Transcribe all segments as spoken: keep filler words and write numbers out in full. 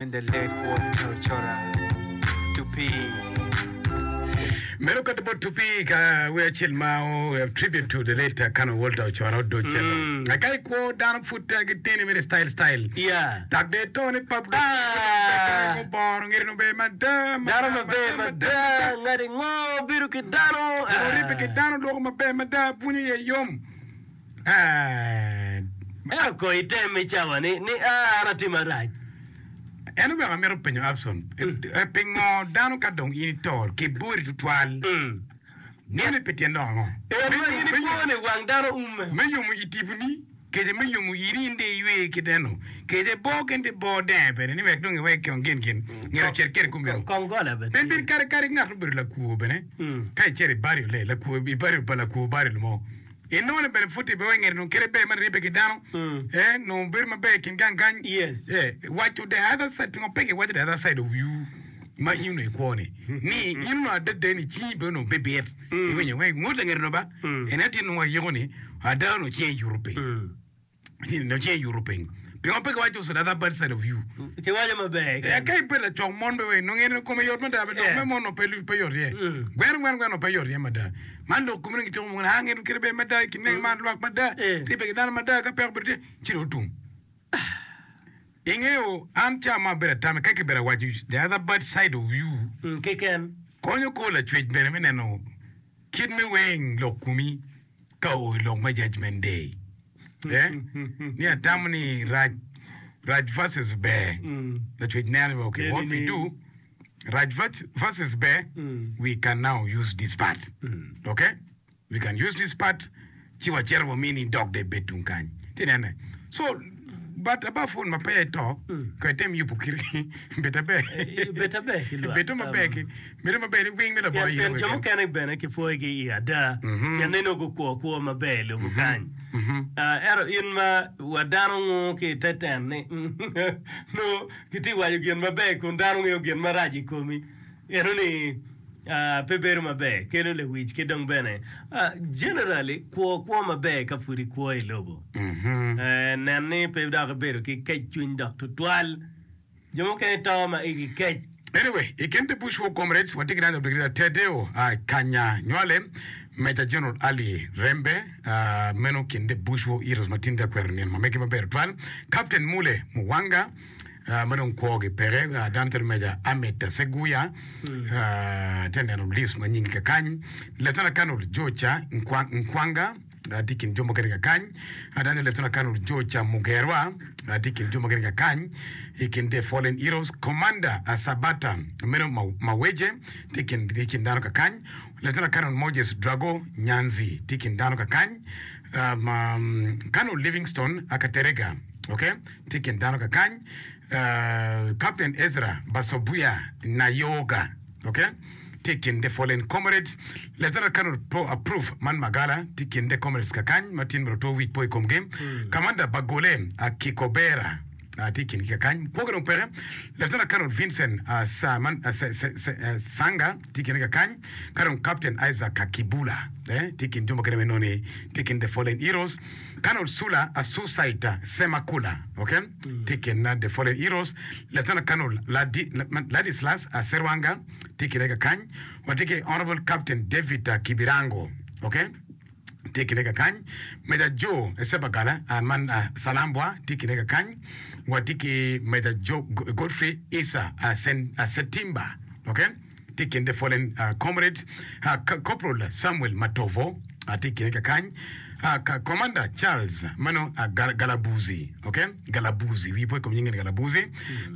And the late Walter Ochora Tupi. Meno kati bot Tupi ka wer acel ma o tribute to the late uh, Colonel Walter Ochora odoc mm. Ka ikwo dano pud uh, giteni mere style style. Yeah. Tak de to ni pap Ah. boro ngeri no be mada Dano maber mada, ngati ngo bedo ki dano. Oribe ki dano loko maber mada punyo ye yom. Ah. Ento ko item i cawa ni ni ah an atimo marac. En oweko amito penyo Abson eh, pingo dano ka dong in ito kibori tutwal Mm. nene pi tyen lok ango En ma in ikwo ni wang dano umme. me yomo i tiponi kece me yomo iri in de iywe kit eno kece bo ken ti bo denge bene ni wek dong iwek kong gin gin ngero cet kede kumeno Kong gola bene pien tye. bin kare kare ngat obedo lakwo bene Mm. ka icito i burial le lakwo i burial pa lakwo burial mo inongo ni bene pud ibe ngeri nong kede ber man ribbe ki dano Mm. eh nong bedo maber i kin gang kany Yes. eh waco the other side pingo pe kiwaco the other side of you ma in onongo ikwo ni ni in onongo adada ni cingi be onongo bibit iwinyo wek ngut langeri no ba en aye tye nongo ayiko ni ada onongo cinge yuto piny Mm. nongo cinge yuto piny pingo pe kiwaco also the other bad side of you Kiwaco maber. Eh, keken. ka ibedo lacok mon be we nongo en kome yot mada be lok Yeah. me mon no pe pe yot iye Mm. gweno gweno gweno pe yot iye mada man lok kome nongo gitiko mon ah ngeno kite ber mada i kin man lwak mada Eh. ribbe ki dano mada ka peko bedo tye ci dong otum ingeyo an ca ma abedo atame ka kibedo awaco the other bad side of you Mm, Keken. konyo ko lacwec bene me neno kit me weng lok kumi ka oo i lok me judgment day eh? ni atamo ni rac rac versus ber Mm. lacwec neno ni okay what we do rac vers- versus ber Mm. we can now use this part okay we can use this part ci wacito wamini dok de bed tung kany ti nene so but above all ma peya ito ko item yubo kiri bed aber Bed aber ki lwak. bedo maber ki bedo maber ni wing me labo Pien pien jo mukene bene kipwoyogi i ada pien neno gukwo kwo maber i lobo kany. Ah, Ento in ma wa dano ngu ki i te ten ni no gitye waco gin maber kun dano ngeyo gin marac i komi. Eno ni ah, pe bedo maber kelo lewic ki dong bene ah, generally kwo kwo maber ka pud ikwo i lobo. Eh, nen ni pe dok ibedo ki kec cwiny dok tutwal. Jo mukene to ma igi kec. Anyway, i kin the Bush War Comrades, watye ki dano Brigadier Tedeo uh, Kanya Nywale, Major General Ali Rembe, uh, meno kin the Bush War Heroes ma tin tye akwero nino ma megi maber tutwal, Captain Mule Muwanga, uh, ma dong kwogi peke, uh, dano calo Major Ahmed Seguya, uh, tye neno list ma nyingi kakany, Lieutenant Colonel George Nkwa- Nkwanga, uh, tye i kin jo mukene kakany, uh, dano Lieutenant Colonel George Mugerwa, uh, tye i kin jo mukene kakany, i kin the Fallen Heroes, Commander uh, Sabata meno Ma- Maweje, tye i kin i kin dano kakany, Lieutenant Colonel Moses Drago Nyanzi, tye i kin dano kakany, um, um, Colonel Livingstone Akaterega, okay, tye i kin dano kakany, uh, Captain Ezra Basobuya Nayoga, okay, tye i kin the fallen comrades Lieutenant Colonel Pro approve man Magala tye i kin the comrades kakany ma tin myero oto wic po i komgi Commander Bagole uh, Kikobera uh, tye i kingi kakany kwogi dong peke Lieutenant Colonel Vincent uh, Saman, uh, se, se, se, uh, Sanga tye i kine kakany ka dong Captain Isaac Kakibula eh, tye i kin jo mukene me noni tye i kin the fallen heroes Colonel Sula Asusaita Semakula okay tye i kin uh, the fallen heroes Lieutenant Colonel Ladi, Ladislas uh, Serwanga tye i kine kakany watye ki Honorable Captain David uh, Kibirango okay tye i kine kakany Major Joe Sebagala uh, man uh, Salambwa tye i kine kakany watye ki Major Joe Godfrey Isa uh, Sen, uh, Setimba okay tye i kin the fallen uh, comrades uh, Corporal Samuel Matovo uh, tye i kine kakany uh, ka- Commander Charles mano uh, Gal Galabuzi okay Galabuzi wi po i kom nyinge ni Galabuzi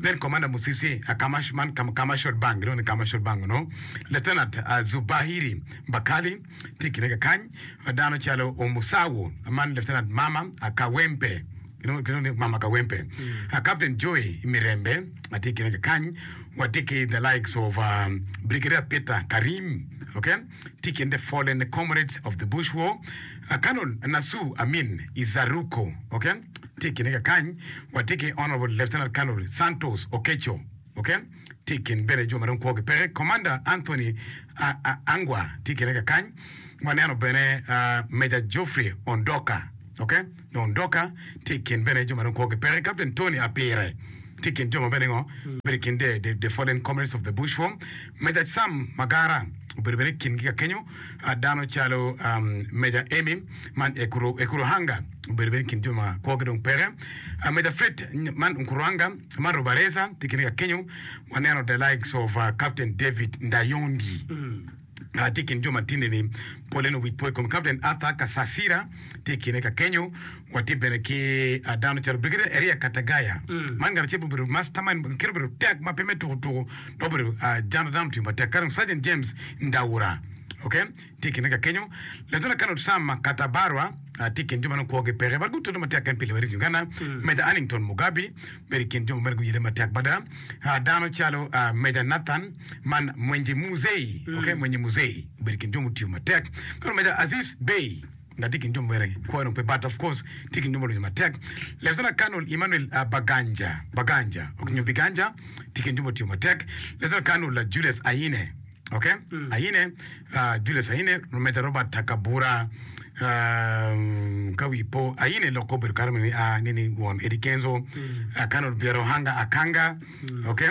then Commander Musisi uh, Kamash, man Kam Commercial Bank no ni Commercial Bank no Lieutenant uh, Zubahiri Bakali tye i kine kakany uh, dano calo Omusawo man Lieutenant Mama uh, Kawempe you know, you know, Mama Kawempe uh, Captain Joy Mirembe atye i kine kakany watye ki the likes of um, Brigadier Peter Karim okay tye i kin the fallen comrades of the Bush War uh, Colonel Nasu Amin Izaruko okay tye i kine kakany watye ki Honorable Lieutenant Colonel Santos Okecho okay tye i kin bene jo ma dong kwogi peke Commander Anthony uh, uh, Angwa tye i kine kakany waneno bene uh, Major Geoffrey Ondoka okay Ondoka tye i kin bene jo ma dong kwogi peke Captain Tony Apire Tye i kin jo ma bene ngo bedo i kin the, the, the fallen comrades of the bush war. Major Sam Magara obedo bene i kingi ka kenyo. Uh, dano calo um, Major Amy man Ekuru, Ekuruhanga obedo bene i kin jo ma kwogi dong peke. Uh, Major Fred man Nkuruhanga man Rubareza tye i kingi ka kenyo. Waneno the likes of uh, Captain David Ndayondi. Uh, tye i kin jo ma tinde-ni pole nongo wic po i kom Captain Arthur Kasasira tye i kine ka kenyo. Watye bene ki uh, dano calo Brigadier Eria Katagaya. Man ngat acel ma obedo mastermind, kite obedo tek ma pe me tuko tuko dok obedo uh, jano dano otiyo matek. Ka dong Sergeant James Ndawura, okay, tye i kine ka kenyo. Lieutenant Colonel Sam Katabarwa uh, tye i kin jo ma nongo kwogi peke but gutudo matek en pi Liberation Uganda. Major Annington Mugabi bedo i kin jo ma bene guyelle matek mada. Uh, dano calo uh, Major Nathan man Mwenje Muzei, okay, Mwenje Muzei obedo i kin jo mutiyo matek. Ka dong Major Aziz Bey nga tye i kin jo ma bene kwo dong pe but of course tye i kin jo ma olonyo matek. Lieutenant Colonel Emmanuel uh, Baganja, Baganja, ok, nyo Biganja tye i kin jo mutiyo matek. Lieutenant Colonel uh, Julius Aine, okay, Aine, uh, Julius Aine, Major Robert Takabura, um, ka wi po Aine loko obedo kare ni a ni ni won Eddie Kenzo, uh, Colonel Biarohanga Akanga, okay,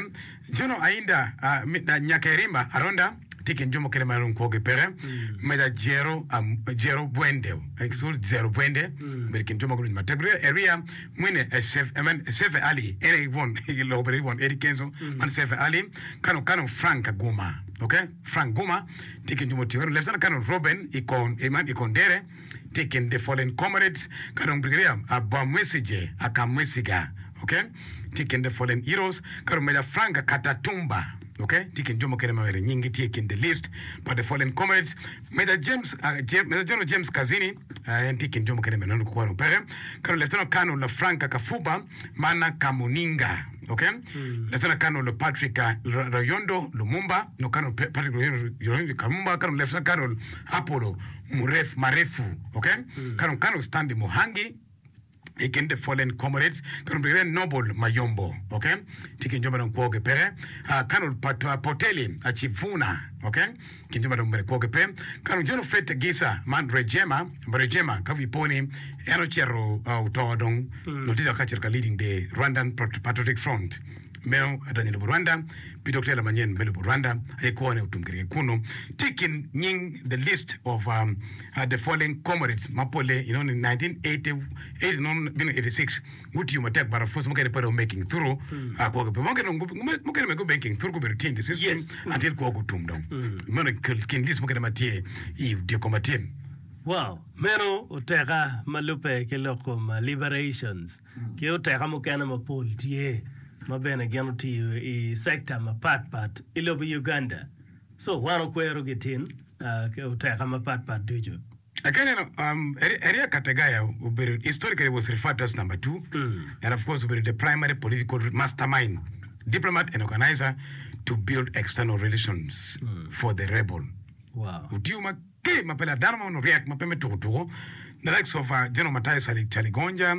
General Ainda uh, mi- uh, Nyakerimba Aronda tye i kin jo mukene ma dong kwogi peke. Major Jero um, Jero Bwende, excuse Jero Bwende obedo i kin jo ma gulonyo matek. Brigadier Eria Mwine eh, Sef, I mean, Sefe Ali en aye won loko obedo won Eddie Kenzo man Sefe Ali Kano Kano Frank Guma, okay, Frank Guma tye i kin jo mutiyo. Lieutenant Colonel Robin Ikon Iman Ikondere tye i kin the fallen comrades. Ka dong Brigadier Abamwesige Akamwesiga, okay, tye i kin the fallen heroes. Ka dong Major Frank Katatumba, okay, tye i kin jo mukene ma bene nyinggi tye i kin the list pa the fallen comrades. Major James uh, James, Major General James Kazini uh, en tye i kin jo mukene bene nongo kwano peke. Ka dong Lieutenant Colonel Frank Kafuba mana Kamuninga, okay, Lieutenant Colonel Patrick uh, Rayondo Lumumba, no Colonel Pa- Patrick Rayondo Rayondo Lumumba, Colonel Lieutenant Colonel Apollo Muref Marefu, okay, Colonel Colonel Stanley Muhangi i kin the fallen comrades. Colonel Brigadier Noble Mayombo, okay, tye i kin jo ma dong kwogi peke. Uh, Colonel Pat, uh, Poteli Achivuna, okay, kin jo ma dong bene kwogi pe. Colonel General Fred Gisa man Rejema, Rejema ka wi po ni en ocito uh, oto dong mm. tye dok ka cito ka leading the Rwandan Pat- Patriotic Front meno adonyo i lobo Rwanda pi dok tela manyen me lobo Rwanda aye kwone otum kwede ki kunu. Tye i kin nying the list of um, uh, the fallen comrades ma pole you know, in nineteen eighty, eighty, no, bino eighty-six gutiyo matek but of course mukene pe dong making through uh, kwogi pe mukene dong gu- mukene me go making through gubedo tye in the system Yes. until kwogi otum dong meno i kin list mukene ma tye i dyeko ma tye. Wow, meno oteka ma lubbe ki lok kom uh, liberations ki oteka mukene mapol tye ma bene gin otiyo i sector mapat pat i lobo Uganda. So wan okwero gitin uh, ki oteka mapat pat ducu. Again, um, Eria Kategaya obedo, historically was referred to as number two, and of course obedo the primary political mastermind, diplomat and organizer to build external relations for the rebel. Wow. Otiyo ma ke ma pe la dano ma onongo ryek ma pe me tuko tuko. The likes of uh, General Matthias Chali Chaligonja,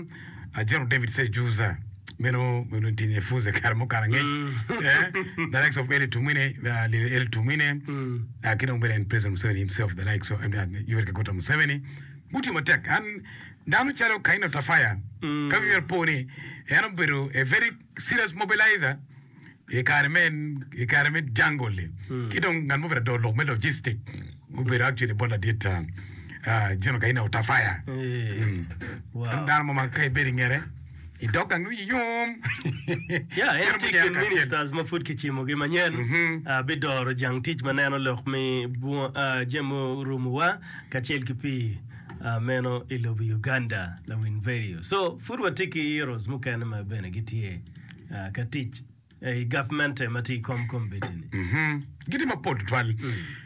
uh, General David Sejusa, meno meno tinye fuze kare mukato angec, eh, the likes of Eli Tumwine, uh, Eli Tumwine, uh, ki dong bene en President Museveni himself, the likes of uh, Yoweri Kaguta Museveni. Gutiyo matek. An dano calo Kaino Tafaya, ka wi po ni en obedo a very serious mobilizer i kare me i kare me jungle-li. Ki dong ngat mo obedo adoro lok me logistic obedo actually bot ladit uh, uh, General Kaino Tafaya. Eh, Wow. Dano mo ma ka ibedo i ngete i dog gang wiyi yom. Yeah, en Gin tye munyero kin kacel. ministers ma pud kicimogi manyen uh, bidoro jang tic ma neno lok me bunga- uh, jami orumowa kacel ki pii uh, meno i lobo Uganda lawiny radio. So pud watye ki heroes mukene ma bene gitye uh, ka tic i government ma tye i kom kombeddi-ni. Mhm. Gitye mapol tutwal.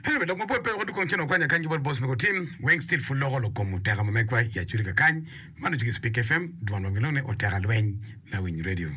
Anyway, lok mapol pe wek kong cen wakwanya kany ki bot boss mego tim weng still pud loko lok kom oteka ma megwa i Acholi kakany. Man ocugi Speak F M, dwon ma gilongo ni Oteka Lweny Lawiny Radio.